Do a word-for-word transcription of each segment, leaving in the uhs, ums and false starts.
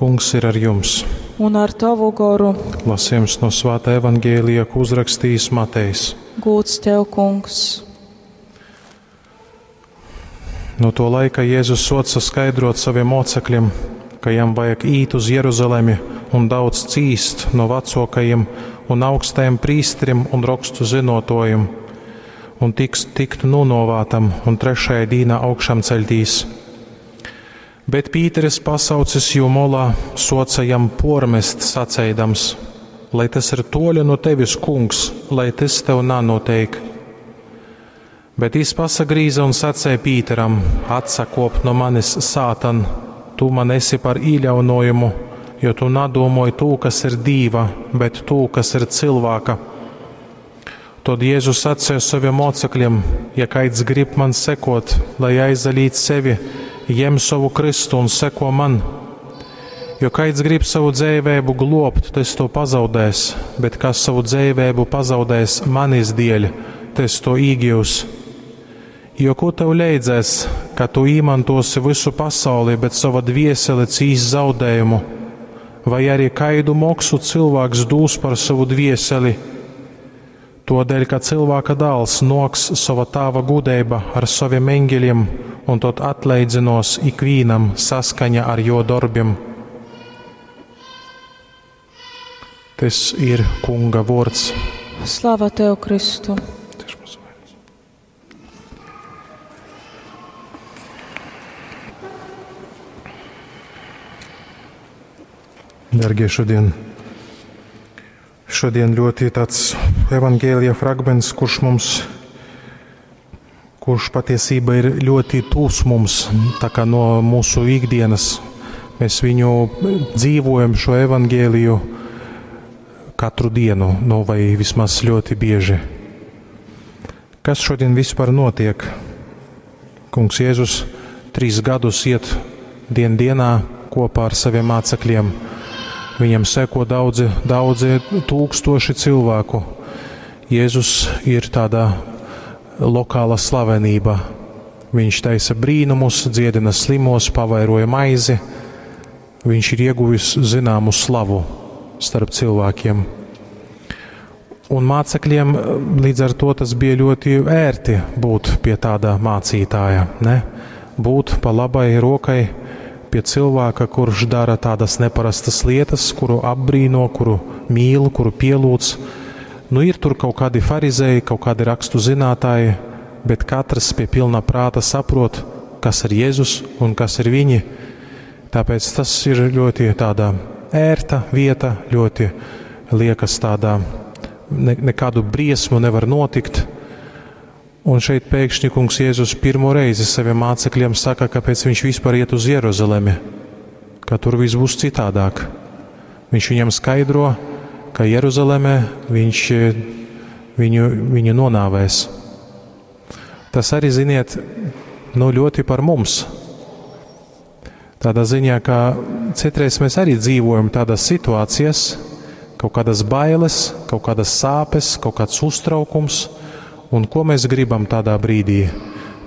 Kungs ir ar jums. Un ar tavu goru. Lasījums no Svētā Evangēlija, ko uzrakstījis Matejs. Gūts tev, Kungs. No to laika Jēzus soca skaidrot saviem mocekļiem, ka jam vajag īt uz Jeruzalemi un daudz cīst no vecākajiem un augstajiem prīsteriem un rakstu zinotojiem, un tiks tikt nonovātam un trešajā dīnā augšām ceļtīs. Bet Pīteris pasaucis jū molā, soca jam pormest saceidams, lai tas ir toļa no tevis, kungs, lai tas tev nanoteik. Bet jis pasagrīza un sacēja Pīteram: Atsakop no manis, sātan, tu man esi par īļaunojumu, jo tu nadomoj tū, kas ir dīva, bet tū, kas ir cilvēka. Tad Jēzus sacēja saviem mocekļiem: Ja kaids grib man sekot, lai aizalīt sevi, jem savu kristu un seko man. Jo kaids grib savu dzīvēbu globt, tas to pazaudēs, bet kas savu dzīvēbu pazaudēs manis dēļ, tas to īgīvs. Jo ko tev leidzēs, ka tu īmantosi visu pasauli, bet sava dviesele cīs zaudējumu? Vai arī kaidu moksu cilvēks dūs par savu dvieseli? Todēļ, ka cilvēka dēls noks sava tāva gudeiba ar saviem eņģeļiem, un tot atleidzinos ikvīnam saskaņa ar jo darbiem. Tas ir Kunga vārds. Slava tev, Kristu! Dargie, šodien, šodien ļoti tāds evangēlija fragments, kurš mums, kurš patiesībā ir ļoti tūs mums, tā kā no mūsu ikdienas. Mēs viņu dzīvojam šo evangēliju katru dienu, nu vai vismaz ļoti bieži. Kas šodien vispār notiek? Kungs Jēzus trīs gadus iet dien dienā kopā ar saviem mācekļiem. Viņam seko daudzi, daudzi tūkstoši cilvēku. Jēzus ir tāda lokāla slavenība. Viņš taisa brīnumus, dziedina slimos, pavairoja maizi. Viņš ir ieguvis zināmu slavu starp cilvēkiem. Un mācekļiem līdz ar to tas bija ļoti ērti būt pie tāda mācītāja, ne? Būt pa labai rokai pie cilvēka, kurš dara tādas neparastas lietas, kuru apbrīno, kuru mīl, kuru pielūdz. Nu, ir tur kaut kādi farizēji, kaut kādi rakstu zinātāji, bet katrs pie pilna prāta saprot, kas ir Jēzus un kas ir viņi. Tāpēc tas ir ļoti tāda ērta vieta, ļoti liekas tādā, ne, nekādu briesmu nevar notikt. Un šeit pēkšņi kungs Jēzus pirmo reizi saviem mācekļiem saka, kāpēc viņš vispār iet uz Jeruzalemi, ka tur viss būs citādāk. Viņš viņam skaidro, ka Jeruzalemē viņš viņu, viņu nonāvēs. Tas arī, ziniet, nu ļoti par mums. Tādā ziņā, ka citreiz mēs arī dzīvojam tādās situācijās, kaut kādas bailes, kaut kādas sāpes, kaut kāds uztraukums. Un ko mēs gribam tādā brīdī?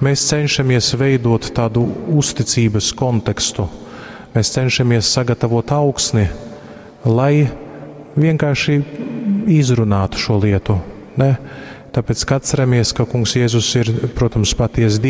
Mēs cenšamies veidot tādu uzticības kontekstu. Mēs cenšamies sagatavot augsni, lai vienkārši izrunātu šo lietu. Ne? Tāpēc, ka atceramies, ka Kungs Jēzus ir, protams, patiesa Dievs.